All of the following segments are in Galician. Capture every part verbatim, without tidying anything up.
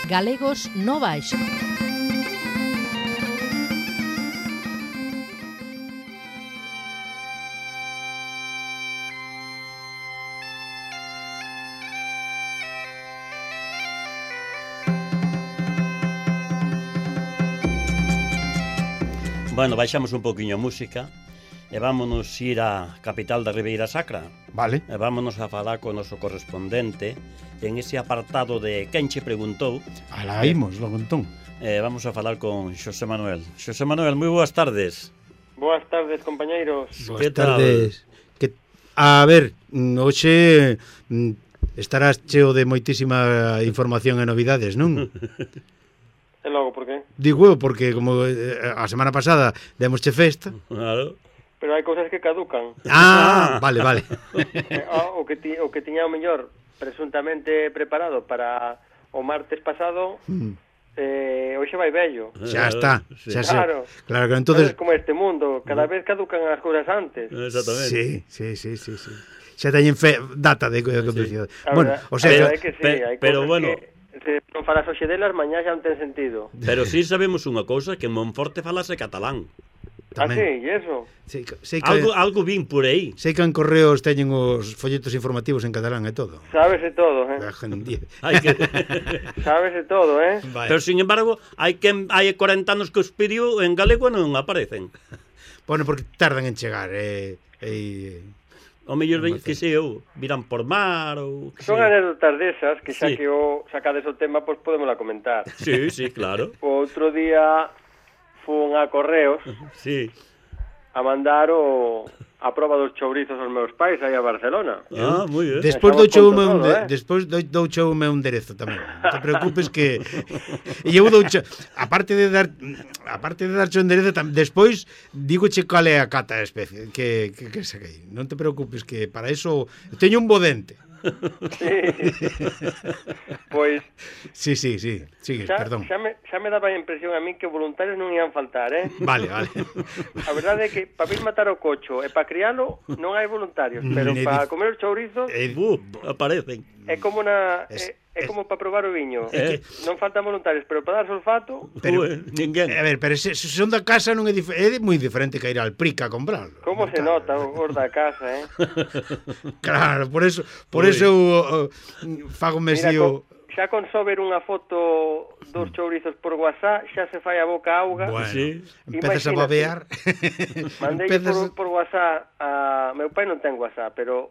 Galegos no Baixo. Bueno, baixamos un poquinho a música e vámonos ir á capital da Ribeira Sacra. Vale. E vámonos a falar co noso correspondente en ese apartado de Quen che preguntou. Alá imos, logo entón. Eh, vamos a falar con Xosé Manuel. Xosé Manuel, moi boas tardes. Boas tardes, compañeiros. Boas Que tal? tardes. Que, a ver, hoxe estarás cheo de moitísima información e novidades, non? E logo, por qué? Digo, porque como eh, a semana pasada demosche festa. Claro. Pero hai cousas que caducan. Ah, vale, vale. eh, o, que ti, o que tiña o mellor presuntamente preparado para o martes pasado, Mm. eh, hoxe vai vello. Xa está, xa sei. Claro. Claro que entonces Sabes como este mundo, cada vez caducan as cousas antes. Exactamente. Sí, sí, sí, sí, sí. Xa teñen fe, data de caducidade. A Bueno, verdad- o a sea, verdade é que sí, pe- hai pero cousas bueno. que se non falas hoxe delas, mañá xa non ten sentido. Pero sí sabemos unha cousa, que en Monforte falase catalán. Ah, tamén. sí, e eso? Sei, que- sei que Algo, algo vin por aí. sei que en Correos teñen os folletos informativos en catalán e todo. Sábese todo, eh? La gente- Hai que... Sábese todo, eh? Vale. Pero, sin embargo, hai que hai corenta anos que os pediu en galego non aparecen. Bueno, porque tardan en chegar, eh, eh, O mellor ven, que sei eu, viran por mar ou... que Son sei. anécdotas desas que xa Sí. que o sacades o tema, pois podémosla comentar. Sí, sí, claro. O outro día fun a Correos Sí. a mandar o a proba dos chourizos aos meus pais aí a Barcelona. Ah, moi ben. despois Estamos douche con un todo, de, eh? despois dou, douche un meu enderezo tamén. Non te preocupes que e eu douche aparte de dar aparte de darche o enderezo tam, despois dígoche cal é a cata especie que que que saquei. Non te preocupes que para eso teño un bo dente. Pois Sí, sí, sí. Sigue, xa, perdón. xa, me, xa me daba a impresión a mí que voluntarios non ian faltar, eh? Vale, vale. A verdade é que para vir matar o cocho e para crialo non hai voluntarios, pero Ne para dif- comer os chourizos Eh, Bu, aparecen. é como na Es- é, é como para probar o viño. Eh. Non faltan voluntarios, pero para dar olfato, Pero- Ue, ninguén. A ver, pero se, se son da casa non é, dif é moi diferente que ir al Prica a comprarlo. como se nota os da casa, eh? Claro, por eso, por Ui. eso eu, uh, fago Mira, mesío. con, xa con só ver unha foto dos chourizos por WhatsApp, xa se fai a boca auga. Bueno, Sí. empezas a Imagínate. babear. Mandei empezas por, por WhatsApp a... Meu pai non ten WhatsApp, pero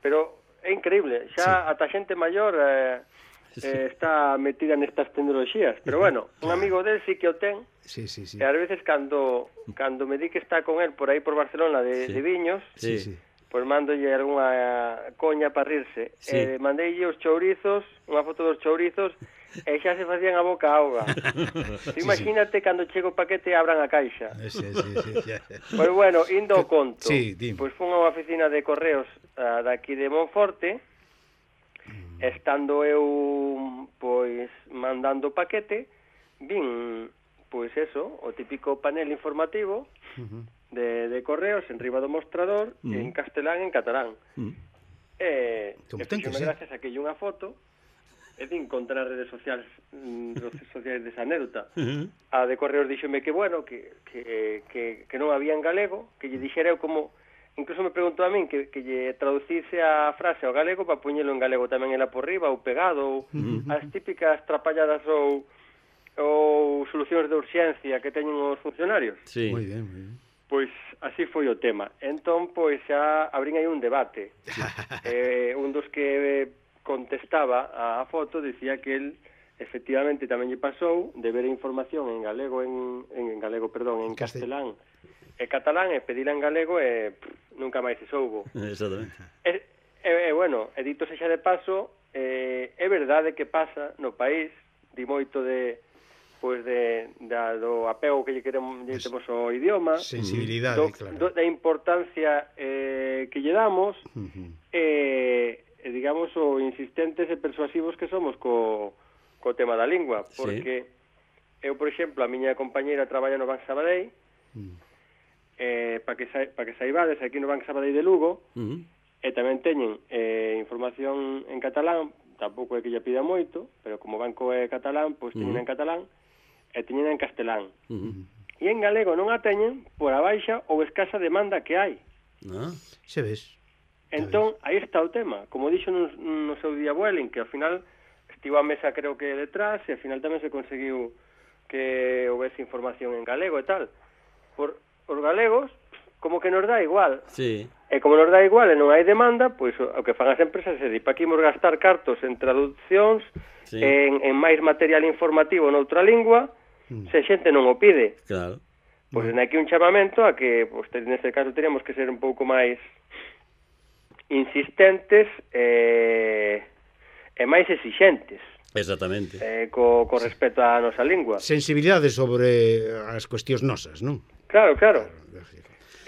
pero é increíble. Xa ata xente maior eh, eh, está metida nestas tecnoloxías. Pero bueno, un amigo del sí que o ten. Sí, sí, sí. E ás veces cando cando me di que está con él por aí por Barcelona de, Sí. de viños, Sí, Sí. sí. pois mandolle algunha coña para rirse. Sí. Eh, mandeille os chourizos, unha foto dos chourizos, e xa se facían a boca auga. Imagínate cando chega o paquete e abran a caixa. Sí, sí, sí, sí. Pois bueno, indo ao conto. Sí, dime. Pois fun a unha oficina de correos uh, daqui de Monforte, Mm. estando eu pois mandando o paquete, vin pois eso, o típico panel informativo Ujú. de, de correos en riba do mostrador, Mm. en castelán e en catalán. Mm. E, Como e ten que fixome ser. gracias a que unha foto e din contra as redes sociais mm, redes sociais desa anécdota. Uh-huh. A de correos díxome que bueno, que, que, que, que non había en galego, que lle dixera eu como incluso me preguntou a min que, que lle traducise a frase ao galego para poñelo en galego tamén ela por riba ou pegado ou Uh-huh. as típicas trapalladas ou ou solucións de urxencia que teñen os funcionarios. Sí. Moi bien, moi bien. Pois así foi o tema. Entón, pois xa abrín aí un debate. eh, un dos que contestaba a foto dicía que el efectivamente tamén lle pasou de ver a información en galego en, en galego, perdón, en Castel- castelán e catalán e pedila en galego e pff, nunca máis se soubo. Exactamente. E, e, e bueno, e dito sexa de paso, eh, é verdade que pasa no país, di moito de pois de da, do apego que lle queremos lle temos ao idioma, Sensibilidade, do, claro. do, da importancia eh, que lle damos Ujú. e, e digamos o insistentes e persuasivos que somos co, co tema da lingua, Sí. porque eu, por exemplo, a miña compañeira traballa no Banco Sabadell, Mm. eh, para que, sa, pa que saibades, aquí no Banco Sabadell de Lugo, Uh-huh. e tamén teñen eh, información en catalán, tampouco é que lle pida moito, pero como o banco é catalán, pois teñen Uh-huh. en catalán e teñen en castelán. Uh-huh. E en galego non a teñen por a baixa ou escasa demanda que hai. Ah, Se ves. Entón, aí está o tema. Como dixo no, no seu día Vueling, que ao final estivo a mesa creo que detrás e ao final tamén se conseguiu que houvese información en galego e tal. Por os galegos, como que nos dá igual. sí. E como nos dá igual e non hai demanda, pois o que fan as empresas é dicir, para que imos gastar cartos en traduccións, Sí. en, en máis material informativo noutra lingua, Mm. se a xente non o pide. Claro. Pois en aquí un chamamento a que, pois, neste caso, teríamos que ser un pouco máis insistentes e, e máis exixentes Exactamente. eh, co, co respecto á nosa lingua. Sensibilidade sobre as cuestións nosas, non? Claro, claro.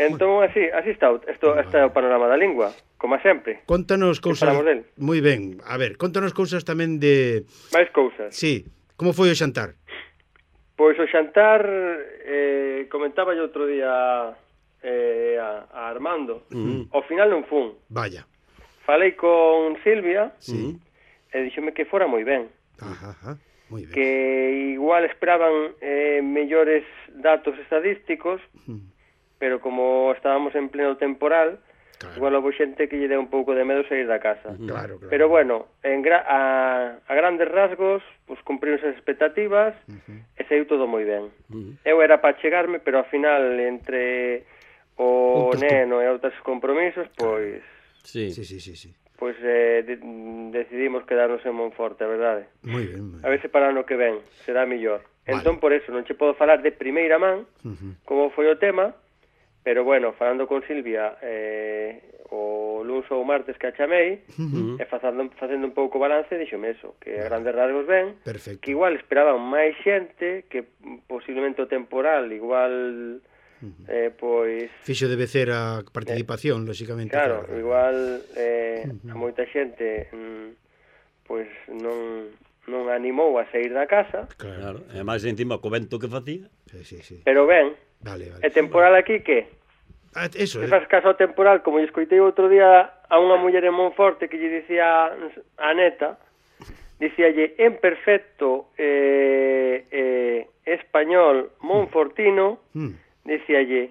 Entón, así, así está, o- esto, este é o panorama da lingua, como sempre. Contanos Que cousas... falamos del? Moi ben. A ver, contanos cousas tamén de... Máis cousas. Sí, como foi o xantar? Pois o xantar, eh, comentaba yo outro día eh, a, a Armando, Uh-huh. ao final non fun. Vaya. Falei con Silvia Sí. e díxome que fora moi ben, Ajá, ajá. Moi ben. que igual esperaban eh, mellores datos estadísticos, Mm, pero como estábamos en pleno temporal, Claro, igual houve xente que lle deu un pouco de medo sair da casa. claro, claro. Pero bueno, en gra a, a grandes rasgos, pues cumpriron as expectativas Ujú. e saiu todo moi ben. Uh-huh. Eu era para chegarme, pero ao final entre o Outros neno e outros compromisos, pois Sí. Sí, sí, sí, sí. pois eh, de, decidimos quedarnos en Monforte, a verdade. Moi ben. moi A ver se para o ano que ven será mellor. Vale. Entón, por eso, non che podo falar de primeira man Ujú. como foi o tema, pero bueno, falando con Silvia eh, o lunes ou martes que a chamei, Uh-huh. e facendo, facendo un pouco balance, dixome eso, que a grandes rasgos ben, Perfecto. que igual esperaban máis xente, que posiblemente o temporal igual eh, pois Fixo de vecer a participación, lóxicamente. claro, igual eh, a moita xente mm, pois non non animou a sair da casa, Claro. Claro. E máis encima co vento que facía. Sí, sí, sí. pero ben, Vale, vale. e temporal aquí que? Ah, eso, Se eh. faz caso ao temporal, como lle escoitei outro día a unha muller en Monforte que lle dicía a neta, dicíalle en perfecto eh, eh, español monfortino, Mm. dicíalle,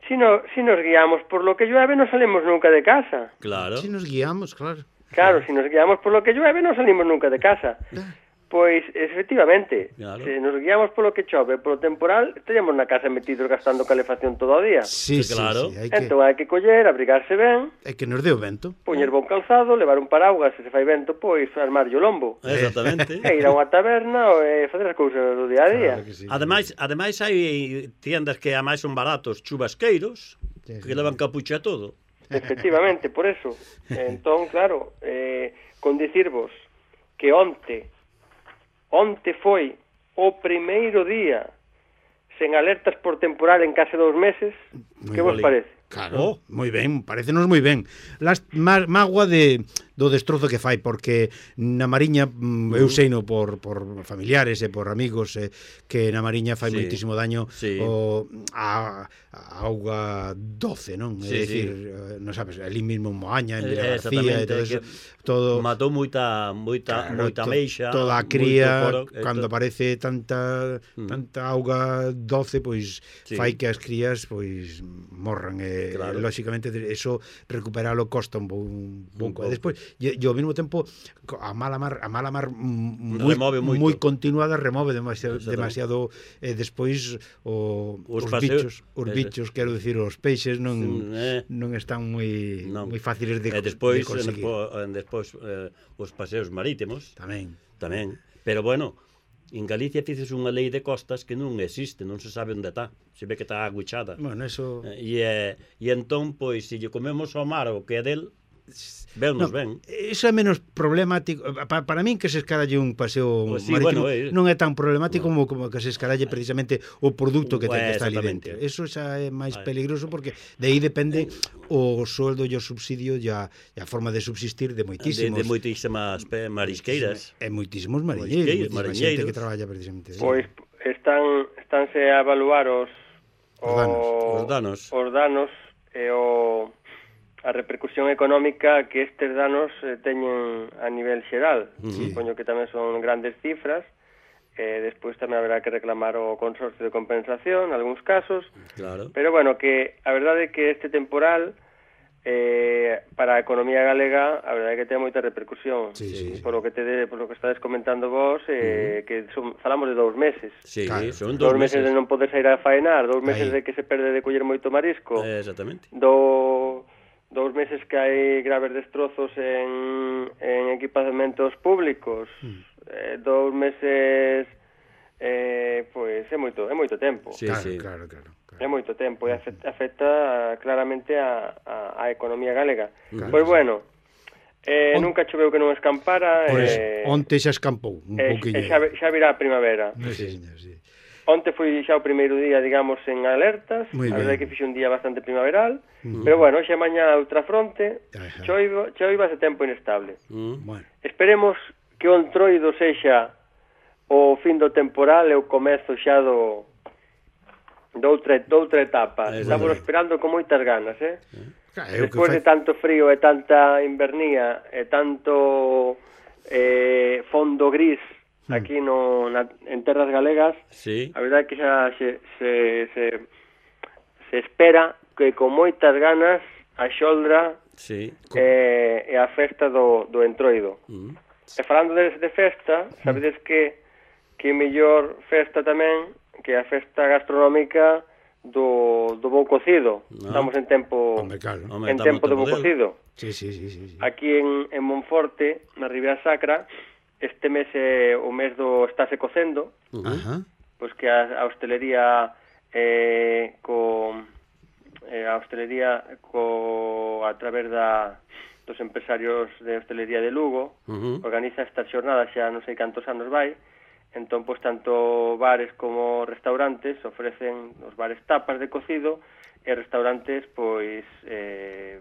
si, no, si nos guiamos por lo que llueve no salimos nunca de casa. Claro. Si nos guiamos, claro. Claro, si nos guiamos por lo que llueve no salimos nunca de casa. Pois, efectivamente, Claro. se nos guiamos polo que chove, polo temporal, estaríamos na casa metidos gastando calefacción todo o día. Sí, Sí, sí, claro. sí. Hai que, Entón hai que coller, abrigarse ben, hai que nos dé o vento. poñer bon calzado, levar un paraugas, se se fai vento, pois armarlle o lombo. Exactamente. E ir a unha taberna e facer as cousas do día a día. Claro que sí. Ademais, ademais hai tiendas que a máis son baratos, chubasqueiros, Sí, que sí. levan capucha a todo. Efectivamente, por eso. Entón, claro, eh, con dicirvos que onte, onte foi o primeiro día sen alertas por temporal en case dous meses, Moi que vos boli. parece? Claro, Oh. moi ben, parecenos moi ben. Las má, mágoa de do destrozo que fai porque na Mariña mm, eu seino por por familiares e por amigos eh, que na Mariña fai Sí. moitísimo daño Sí. o a, a auga doce, non? Sí, é dicir, sí. eh, non sabes, ali mismo en Moaña, en Eh, Vila García e exactamente, todo que eso, todo Matou moita moita Claro, moita to- meixa, toda a moito cría coro, e cando to- aparece tanta Mm. tanta auga doce, pois Sí. fai que as crías pois morran e Claro. lóxicamente eso recuperalo costa un, bo- un pouco. E pouco. despois e, e ao mesmo tempo co- a mala mar a mala mar mm, moi Remove moito. moi continuada remove demasiado Exactamente. demasiado e despois o, Os os, paseos- bichos, os ese. bichos, quero dicir, os peixes non Mm, eh. non están moi Non. moi fáciles de, e despois de conseguir. en, despois eh, os paseos marítimos Tamén. tamén, pero bueno, en Galicia fices unha lei de costas que non existe, non se sabe onde está, se ve que está aguichada. Bueno, eso E, e, e entón, pois, se lle comemos ao mar o que é del, vennos No, ben. Eso é menos problemático para, para min que se escaralle un paseo Pois sí, marítimo bueno, eh. non é tan problemático como, como que se escaralle precisamente o produto que, ten que Pues, está ali exactamente. dentro. Eso xa é máis Vale. peligroso porque de aí depende o sueldo e o subsidio e a, e a forma de subsistir de De, moitísimos de moitísimas pe- marisqueiras. e moitísimos mariñeiros, Marisqueiros, moitísima xente mariñeiros. que traballa precisamente. Pois están estánse a evaluar os Os danos. Os danos. os danos e o a repercusión económica que estes danos eh, teñen a nivel xeral. Sí. Supoño que tamén son grandes cifras, e despois tamén haberá que reclamar o consorcio de compensación, en algúns casos, Claro. pero bueno, que a verdade é que este temporal eh, para a economía galega a verdade é que ten moita repercusión. Sí, sí, sí. Por lo que te de, por lo que estades comentando vos, eh, uh-huh. que son, falamos de dous meses. Sí, Claro. son Dous dous meses meses. de non poder sair a faenar, dous meses Aí. de que se perde de coller moito marisco, Eh, exactamente. do, dous meses que hai graves destrozos en, en equipamentos públicos, Mm. eh, dous meses, eh, pois é moito, é moito tempo. Sí, Claro, sí. claro, claro, claro. É moito tempo e afecta, afecta claramente a, a, a economía galega. Claro, Pois sí. bueno, eh, On- nunca choveu que non escampara, Pois, eh, onte xa escampou un e, pouquiño. e xa, xa virá a primavera. Sí, señor, sí. Onte foi xa o primeiro día, digamos, en alertas, Moi a verdade ben. que fixe un día bastante primaveral, Ujú. pero bueno, xa mañá outra fronte, Ajá. choiva, choiva ese tempo inestable. Mm. Bueno, Esperemos que o entroido sexa o fin do temporal e o comezo xa do doutra, doutra etapa. Eh, Estamos bueno. esperando con moitas ganas, eh? claro, é o que Despois fai... de tanto frío e tanta invernía e tanto eh, fondo gris aquí no, na, en terras galegas, Sí. a verdade é que xa se, se, se, se espera que con moitas ganas a xoldra Sí. eh, e a festa do, do entroido. Mm. E falando de, de festa, sabedes que que mellor festa tamén que a festa gastronómica do, do bo cocido. No. Estamos en tempo Hombre, claro. Home, en estamos tempo de tempo bo del. cocido. Sí, sí, sí, sí, sí. Aquí en, en Monforte, na Ribera Sacra, este mes é o mes do estáse cocendo, Uh-huh. Ajá. pois que a, a hostelería eh, co eh, a hostelería co a través da dos empresarios de hostelería de Lugo Uh-huh. organiza estas xornadas, xa non sei cantos anos vai. Entón, pois, tanto bares como restaurantes ofrecen os bares tapas de cocido e restaurantes, pois, eh,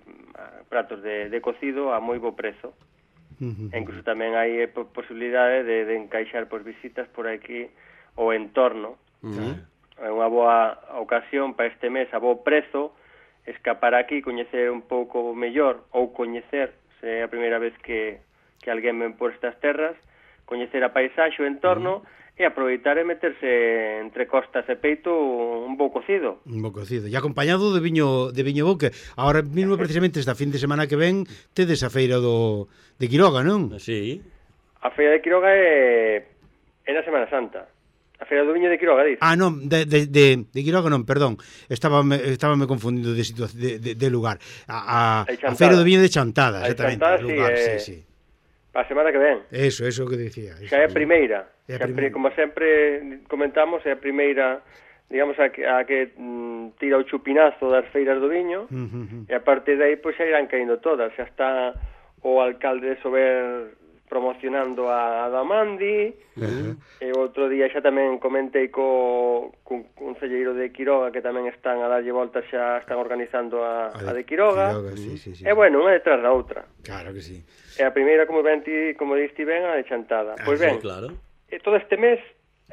pratos de, de cocido a moi bo prezo. Ujú. E incluso tamén hai eh, po- posibilidade de, de encaixar pois, visitas por aquí o entorno. Uh-huh. É unha boa ocasión para este mes a bo prezo escapar aquí, coñecer un pouco mellor ou coñecer, se é a primeira vez que, que alguén ven por estas terras, coñecer a paisaxe, o entorno, uh-huh. e aproveitar e meterse entre costas e peito un bo cocido. Un bo cocido. E acompañado de viño de viño bo, que ahora mismo precisamente esta fin de semana que ven tedes a feira do de Quiroga, non? Sí. A Feira de Quiroga é, é na Semana Santa. A Feira do Viño de Quiroga, diz. Ah, non, de, de, de, de Quiroga non, perdón. Estaba me, estaba me confundindo de, situa- de, de, de lugar. A, a, De a Chantada. feira do viño de Chantada, A de exactamente. Chantada, o lugar, sí, sí, eh, sí. A semana que ven. Eso, eso que decía. Eso. Xa é a primeira. É a Xa, primeira. como sempre comentamos, é a primeira, digamos, a que, a que mm, tira o chupinazo das feiras do viño, Ujú, ujú. e a partir de aí, pois, xa irán caindo todas. Xa está o alcalde de Sober promocionando a Adamandi, Ajá. e outro día xa tamén comentei co, co concelleiro de Quiroga, que tamén están a darlle voltas, xa están organizando a, a de Quiroga. Quiroga, sí, sí, sí. E bueno, unha detrás da outra. Claro que sí. E a primeira, como ben ti, como diste ben, a de Chantada. Pois Sí, ben, claro. e todo este mes,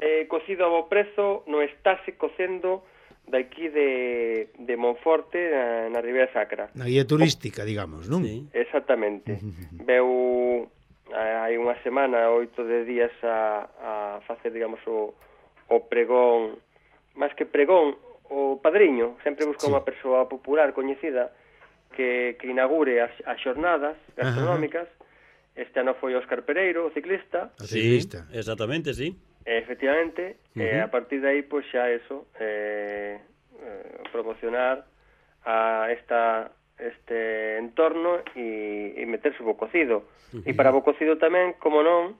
eh, cocido a bo prezo, non estáse cocendo daqui de, de Monforte, na, na Ribera Sacra. Na guía turística, digamos, non? Sí. Exactamente. Veu eh, hai unha semana, oito de días a, a facer, digamos, o, o pregón, máis que pregón, o padriño, sempre busca Sí. unha persoa popular coñecida que, que inaugure as, as xornadas gastronómicas. Este ano foi Óscar Pereiro, o ciclista, A Sí, ciclista. exactamente, sí. e, efectivamente, Uh-huh. e a partir de aí, pois xa eso, eh, eh, promocionar a esta este entorno e, e meterse bo cocido. Uh-huh. E para bo cocido tamén, como non,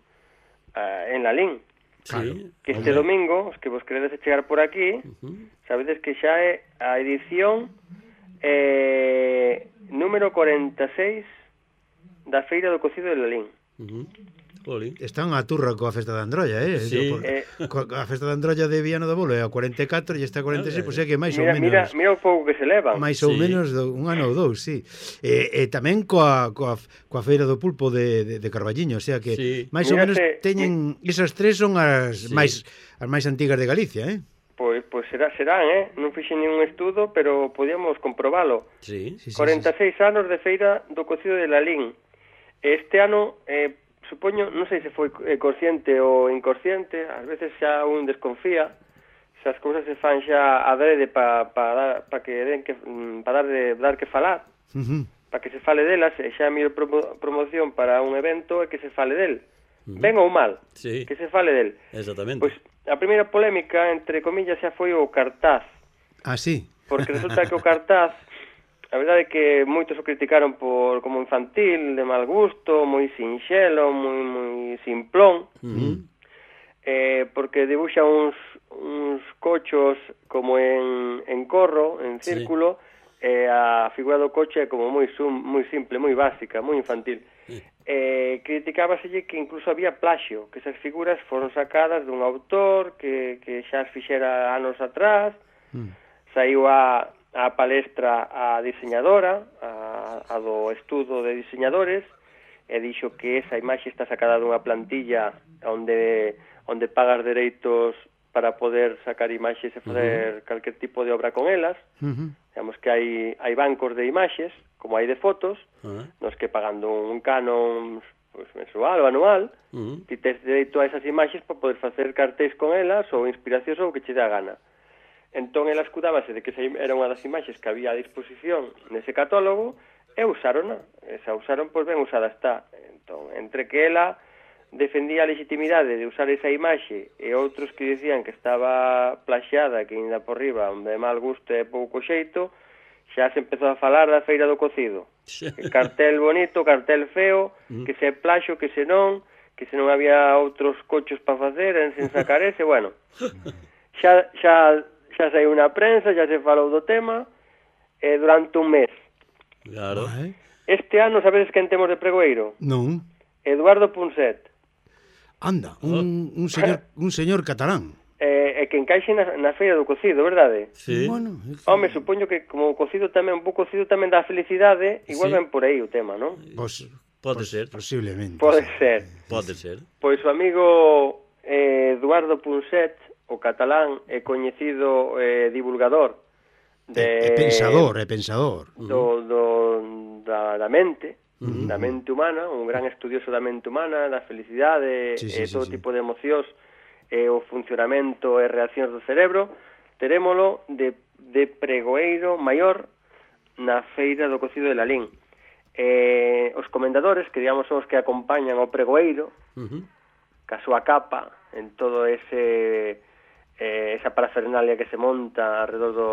eh, en Lalín, Sí. que este Hombre. domingo, os que vos queredes chegar por aquí, Ujú. sabedes que xa é a edición eh, número cuarenta e seis da Feira do Cocido de Lalín. Ujú. Jolín. Están a turra coa festa da Androlla, eh? Sí. Por- Eh, coa- a festa da Androlla de Viana do Bolo é a cuarenta e catro e esta a cuarenta e seis, Eh, pois é que máis ou mira, mira, menos mira o pouco que se leva. máis ou Sí. menos do, un ano ou dous, sí. E, e tamén coa, coa, coa feira do pulpo de, de, de Carballiño, o sea que Sí. máis ou menos Mírate, teñen esas tres son as Sí. máis as máis antigas de Galicia, eh? Pois, pois será, serán, eh? Non fixe ningún estudo, pero podíamos comprobalo. Sí. Sí, sí, corenta e sí, seis anos de feira do cocido de Lalín. Este ano, eh, supoño, non sei se foi eh, consciente ou inconsciente, ás veces xa un desconfía, se as cousas se fan xa adrede para pa pa que den que para dar de dar que falar, sí. Uh-huh. para que se fale delas, e xa a mellor promo, promoción para un evento é que se fale del. Uh-huh. Ben ou mal, Sí. que se fale del. Exactamente. Pois a primeira polémica, entre comillas, xa foi o cartaz, Ah, sí. porque resulta que o cartaz, a verdade é que moitos o criticaron por como infantil, de mal gusto, moi sinxelo, moi moi simplón, Uh-huh. eh, porque dibuxa uns, uns cochos como en, en corro, en círculo, sí. E a figura do coche é como moi sum, moi simple, moi básica, moi infantil. Sí. Eh, criticábaselle que incluso había plaxio, que esas figuras foron sacadas dun autor que, que xa as fixera anos atrás, mm. saiu a, a palestra a diseñadora, a, a do estudo de diseñadores, e dixo que esa imaxe está sacada dunha plantilla onde, onde pagas dereitos para poder sacar imaxes e fazer uh-huh. calquer tipo de obra con elas. Uh-huh. Digamos que hai, hai bancos de imaxes, como hai de fotos, uh-huh. nos que pagando un canon pues, mensual ou anual, uh-huh. ti tes dereito a esas imaxes para poder facer cartéis con elas ou inspiracións ou o que che dá gana. Entón, ela escudábase de que era unha das imaxes que había a disposición nese catálogo e usárona. Esa usaron, pois ben usada está. Entón, entre que ela defendía a legitimidade de usar esa imaxe e outros que dicían que estaba plaxada, que ainda por riba, de mal gusto e pouco xeito, xa se empezou a falar da feira do cocido. Que cartel bonito, cartel feo, que se plaxo, que se non, que se non había outros cochos para facer, en sen sacar ese, bueno. Xa, xa, xa saiu na prensa, xa se falou do tema, e durante un mes. Claro. Este ano, sabedes quen temos de pregoeiro? Non. Eduardo Punset. Anda, un, un señor un señor catalán. Eh, e que encaixe na, na feira do cocido, verdade? Sí. Bueno, Home, supoño que como o cocido tamén, un pouco cocido tamén dá felicidade, igual sí. ven por aí o tema, non? Pues, Pode pues, ser. Posiblemente. Pode sí. ser. Pode ser. Pois o amigo eh, Eduardo Punset, o catalán, é coñecido eh, divulgador de... É, é pensador, é pensador. Do, do, da, da mente, Uh-huh. da mente humana, un gran estudioso da mente humana, da felicidade sí, sí, e todo sí, tipo de emocións e o funcionamento e reaccións do cerebro, terémolo de, de pregoeiro maior na feira do cocido de Lalín. Eh, os comendadores, que digamos son os que acompañan ao pregoeiro, uh-huh. ca súa capa, en todo ese eh, esa parafernalia que se monta alrededor do,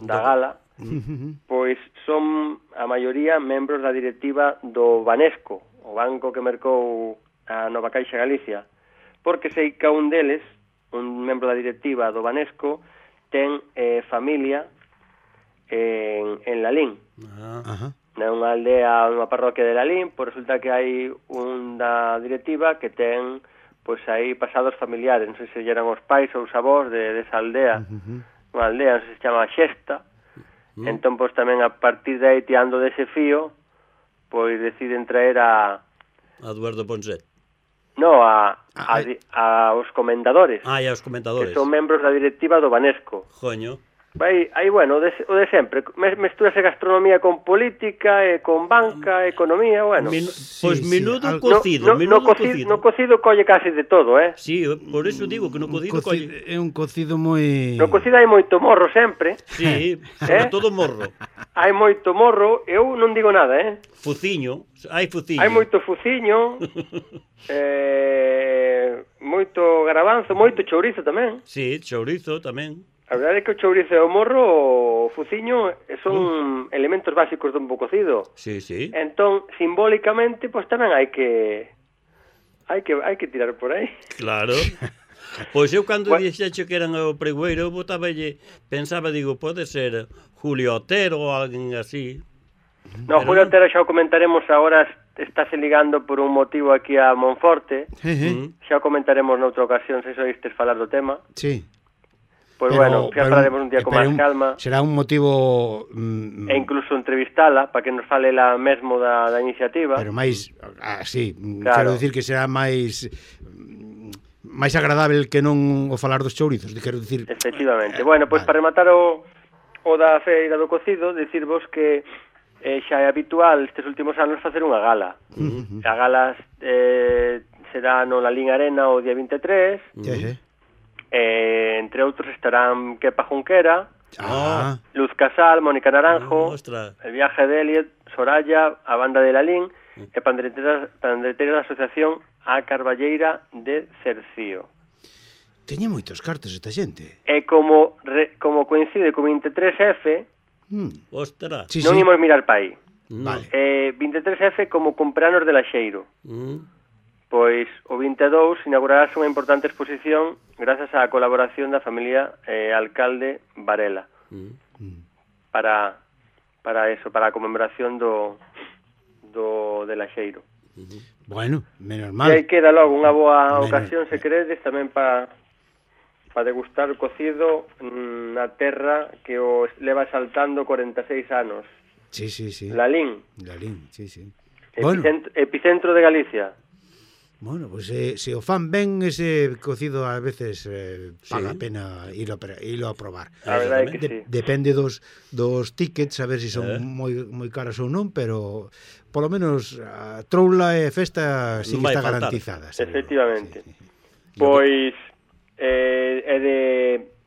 da gala, uh-huh. pois son a maioría membros da directiva do Banesco, o banco que mercou a Nova Caixa Galicia, porque sei que un deles, un membro da directiva do Banesco, ten eh, familia en, en Lalín. Uh-huh. Nunha aldea, nunha parroquia de Lalín, pois resulta que hai un da directiva que ten pois aí pasados familiares, non sei se eran os pais ou os avós de, de esa aldea, uh-huh. unha aldea, non sei se chama Xesta. Mm. Entón, pois, tamén a partir de aí, tirando dese fío, pois deciden traer a... A Eduardo Ponset. No, a, a, a, a os comendadores. Ah, e aos comentadores. Que son membros da directiva do Banesco. Joño. Aí, aí bueno, o de, o de sempre. Mestúrase gastronomía con política, e con banca, economía, bueno. Min, sí, pois sí, menudo algo... cocido, no, no, menudo no cocido, cocido. No cocido colle casi de todo, eh? Sí, por eso digo que no cocido, cocido colle... É un cocido moi... No cocido hai moito morro sempre. Sí, sobre eh? todo morro. Hai moito morro, eu non digo nada, eh? Fuciño, hai fuciño. Hai moito fuciño, eh, moito garabanzo, moito chourizo tamén. Sí, chourizo tamén. A verdade é que o chourizo e o morro, o fuciño, son mm. elementos básicos dun bo cocido. Sí, sí. Entón, simbólicamente, pois tamén hai que hai que hai que tirar por aí. Claro. Pois eu cando bueno. dixeche que eran o pregoeiro, eu botaballe, pensaba, digo, pode ser Julio Otero ou alguén así. No, pero Julio Otero xa o comentaremos agora, estáse ligando por un motivo aquí a Monforte. Uh-huh. Xa o comentaremos noutra ocasión, se soistes falar do tema. Sí. Pois pero, bueno, xa falaremos un día con máis calma. Será un motivo... Mm, e incluso entrevistala, para que nos fale la mesmo da, da iniciativa. Pero máis, así, claro. quero dicir que será máis máis agradável que non o falar dos chourizos, quero dicir. Efectivamente. Bueno, pois para rematar o, o da feira do cocido, dicirvos que eh, xa é habitual estes últimos anos facer unha gala. Uh -huh. A gala eh, será no Lalín Arena o día vinte e tres. Uh -huh. eh, entre outros estarán Kepa Junquera, Ah. Luz Casal, Mónica Naranjo, Oh, ostras. El viaje de Elliot, Soraya, a banda de Lalín e pandreteras, pandreteras da Asociación A Carballeira de Cercío. Teña moitos cartos esta xente. E como re, como coincide co vinte e tres F, Mm. Ostras. Sí, non sí. imos mirar pa aí. No. Vale. Eh, vinte e tres F como cumpleanos de Laxeiro. Mm. Pois o vinte e dous inaugurarás unha importante exposición grazas á colaboración da familia eh, alcalde Varela Mm. para para eso, para a conmemoración do do de Laxeiro. Bueno, menos E mal. aí queda logo unha boa Menos- ocasión, se queredes, tamén para para degustar o cocido mm, na terra que o leva saltando corenta e seis anos. Sí, sí, sí. Lalín, Lalín, sí, sí. Bueno, epicentro, epicentro de Galicia. bueno, pues eh, se o fan ben ese cocido a veces eh, paga Sí. a pena ilo, ilo a probar. A verdade é que De, sí. depende dos dos tickets, a ver se si son Eh. moi moi caros ou non, pero polo menos a troula e festa sí Non que vai está faltar. garantizada. seguro. Efectivamente. Sí, sí. Pois eh, e de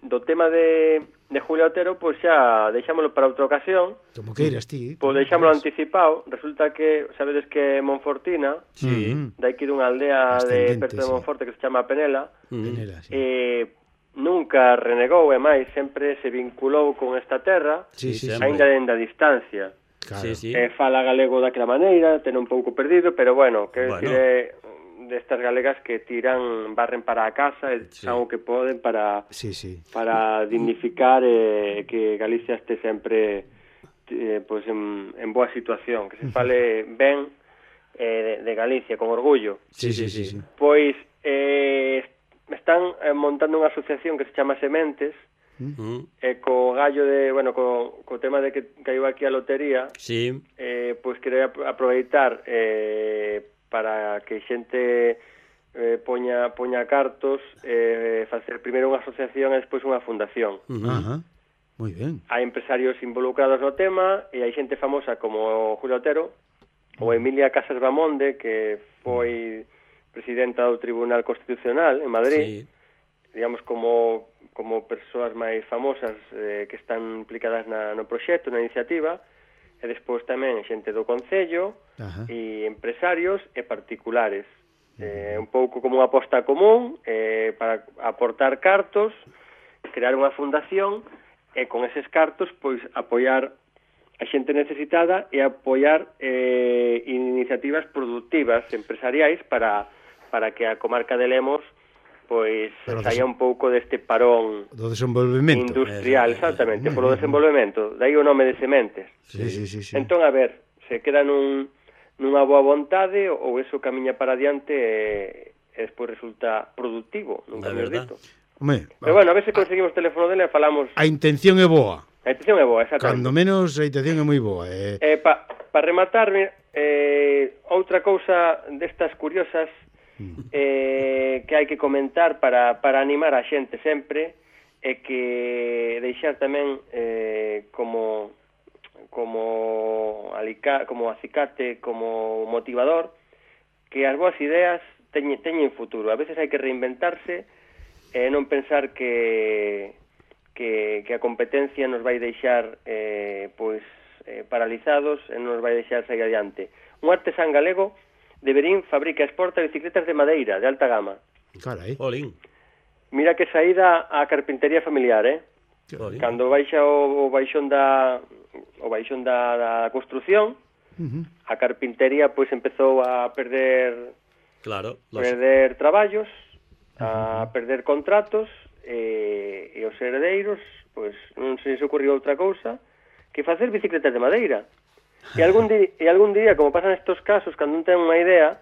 do tema de de Julio Otero, pois xa deixámolo para outra ocasión. Como queiras ti. Pois deixámolo anticipado. Resulta que sabedes que Monfortina, Sí. Mm, de aquí dunha aldea de Ascendente, perto de sí. Monforte que se chama Penela, Mm. Penela, sí. eh, nunca renegou e máis sempre se vinculou con esta terra, Sí, Sí, sí, sí. sempre. aínda dende a distancia. Claro. Sí, sí. Eh, fala galego daquela maneira, ten un pouco perdido, pero bueno, que Bueno. bueno. decir destas galegas que tiran, barren para a casa e Sí. fan o que poden para Sí, sí. para dignificar eh, que Galicia este sempre eh, pois en, en boa situación, que se fale ben eh, de, de Galicia, con orgullo. Sí, sí, sí, sí. Pois eh, están eh, montando unha asociación que se chama Sementes, Mm. e co gallo de, bueno, co, co tema de que caiu aquí a lotería, Sí. eh, pois quería ap- aproveitar eh, para que xente eh, poña, poña cartos, eh, facer primeiro unha asociación e despois unha fundación. Mm. Ajá. Moi ben. Hai empresarios involucrados no tema e hai xente famosa como Julio Otero ou Emilia Casas Bamonde, que foi presidenta do Tribunal Constitucional en Madrid, Sí. digamos como como persoas máis famosas eh, que están implicadas na, no proxecto, na iniciativa, e despois tamén xente do Concello, Ajá. e empresarios e particulares. Eh, un pouco como unha aposta común eh, para aportar cartos, crear unha fundación e con eses cartos pois apoiar a xente necesitada e apoiar eh, iniciativas productivas empresariais para, para que a comarca de Lemos pois Pero saia un pouco deste parón Do desenvolvemento. industrial, Eh, exactamente, moi polo ben. desenvolvemento. Dai o nome de Sementes. Sí, sí, sí, sí. Entón, a ver, se queda nun, nunha boa vontade ou eso camiña para adiante e, e despois resulta productivo, nunca É me verdad. dito. Home, Pero bueno, a ver se conseguimos o teléfono dele e falamos. a intención é boa. A intención é boa, exactamente. Cando menos a intención é moi boa. Eh. Eh, pa, pa rematar, mira, eh, outra cousa destas curiosas eh, que hai que comentar para, para animar a xente sempre é que deixar tamén eh, como como alica, como acicate, como motivador que as boas ideas teñen, teñen futuro. A veces hai que reinventarse e non pensar que que, que a competencia nos vai deixar eh, pois eh, paralizados e non nos vai deixar sair adiante. Un artesán galego de Verín fabrica e exporta bicicletas de madeira de alta gama. Carai. Olín. Mira que saída a carpintería familiar, eh? Olín. Cando baixa o, o baixón da o baixón da, da construción, Uh -huh. a carpintería pois empezou a perder Claro. Los... perder traballos, a perder contratos e, e os herdeiros pois non se lles ocurriu outra cousa que facer bicicletas de madeira. E algún, di, e algún día, como pasan estos casos, cando non ten unha idea,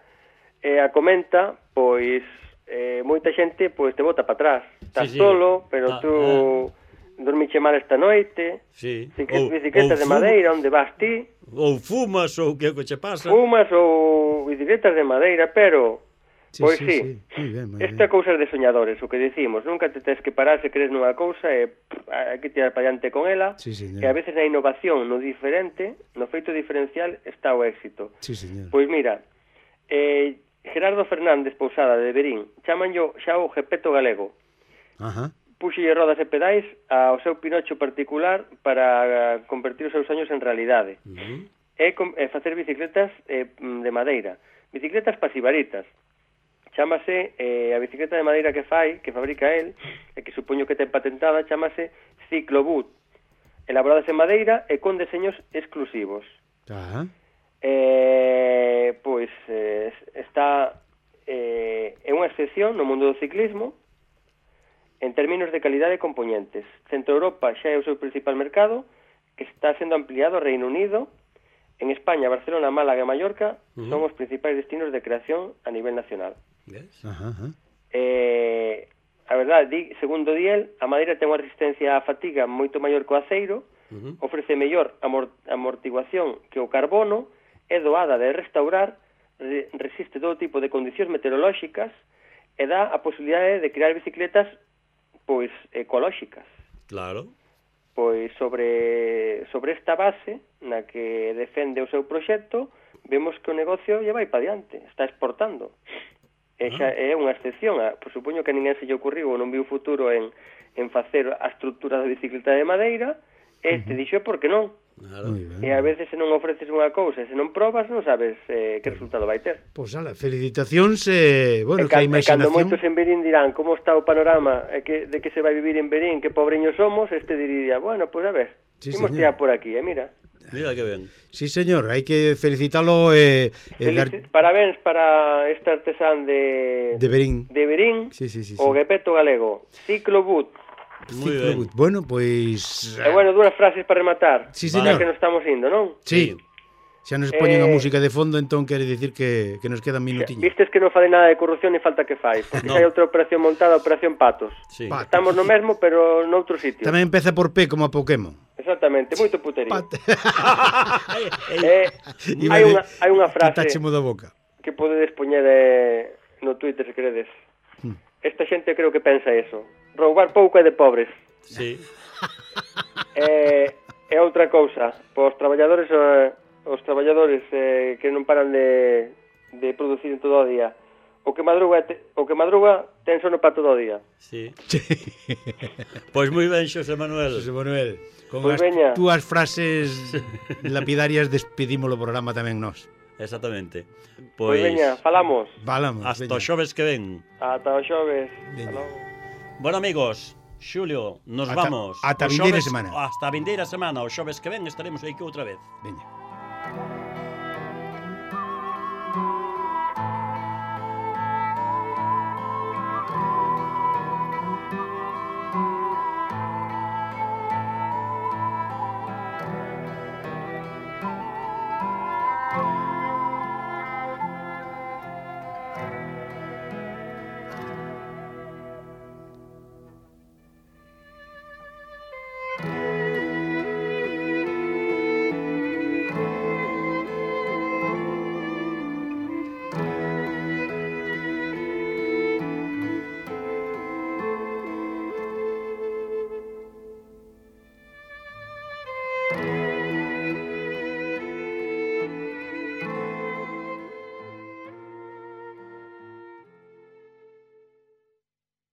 eh, a comenta, pois, eh, moita xente pois te bota para atrás. Estás Sí, sí. solo, pero Ah, tú dormiche mal esta noite, Sí. bicicletas, Ou- bicicletas de ou fu- madeira, onde vas ti, Ou fumas ou que é que che pasa. fumas ou bicicletas de madeira, pero Sí, Pois sí, sí, sí. Moi ben, moi esta ben. cousa de soñadores, o que dicimos, nunca te tens que parar se crees nunha cousa e pff, hai que tirar para diante con ela, Sí, señor. e a veces na innovación, no diferente, no feito diferencial está o éxito. Sí, señor. Pois mira, eh, Gerardo Fernández Pousada de Berín, chamanllo xa o Gepeto galego. Ajá. Puxolle rodas e pedais ao seu Pinocho particular para convertir os seus soños en realidade. Uh -huh. E, com, e facer bicicletas eh, de madeira. Bicicletas pasivaritas. Chámase, eh, a bicicleta de madeira que fai, que fabrica el, e que supoño que ten patentada, chámase Cicloboot. Elaboradas en madeira e con deseños exclusivos. Ajá. Eh, pois eh, está eh, é unha excepción no mundo do ciclismo en términos de calidade e componentes. Centro Europa xa é o seu principal mercado, que está sendo ampliado ao Reino Unido. En España, Barcelona, Málaga e Mallorca uh -huh. son os principais destinos de creación a nivel nacional. Yes. Ajá, ajá. Eh, a verdade, di, segundo Diel, a madeira ten unha resistencia á fatiga moito maior que o aceiro, uh -huh. ofrece mellor amort amortiguación que o carbono, é doada de restaurar, re resiste todo tipo de condicións meteorolóxicas e dá a posibilidade de crear bicicletas pois ecolóxicas. Claro. Pois sobre sobre esta base na que defende o seu proxecto, vemos que o negocio lle vai para diante, está exportando. E xa é unha excepción, a, por supoño que a ninguén se lle ocurriu ou non viu futuro en, en facer a estrutura da bicicleta de madeira, e te dixo por que non. Claro. E a veces se non ofreces unha cousa, se non probas, non sabes eh, que resultado vai ter. Pois ala, felicitacións, eh, bueno, E que a can, e cando imaginación... moitos en Berín dirán como está o panorama e que, de que se vai vivir en Berín, que pobreños somos, este diría, bueno, pois pues a ver, Sí, imos señor. tirar por aquí, e eh, mira. Mira que ben. Sí, señor, hai que felicitalo e... Eh, eh, dar... Parabéns para este artesán de... De Berín. De Berín, Sí, sí, sí, o sí. Gepeto galego, Cicloboot. Moi ben. Bueno, pois... E bueno, dúas frases para rematar. Sí, Para señor. que nos estamos indo, non? Sí. Xa nos poñen Eh, a música de fondo, entón quere dicir que, que nos quedan minutiños. Vistes que non fai nada de corrupción ni falta que fai, porque No. hai outra operación montada, Operación Patos. Sí. Patos. Estamos no mesmo, pero noutro sitio. Tamén empeza por P como a Pokémon. Exactamente, moito puterío. Pat... Eh, hai unha hai unha frase Quitachemo da boca. que podedes poñer eh, no Twitter se queredes. Hmm. Esta xente creo que pensa eso. Roubar pouco é de pobres. Sí. E, e outra cousa, pois os traballadores eh, os traballadores eh, que non paran de, de producir en todo o día. O que madruga te, o que madruga ten sono para todo o día. Sí. Pois moi ben, Xosé Manuel. José Manuel, con Pois as veña. túas frases lapidarias despedimos o programa tamén nós. Exactamente. Pois, Pois, veña, falamos. Valamos, hasta veña. o xoves que ven. Ata o xoves. Veña. Hasta logo. Bueno, amigos, Xulio, nos Ata- vamos. ata a O vindeira xoves- semana. Hasta a vindeira semana. O xoves que ven estaremos aí que outra vez. Veña.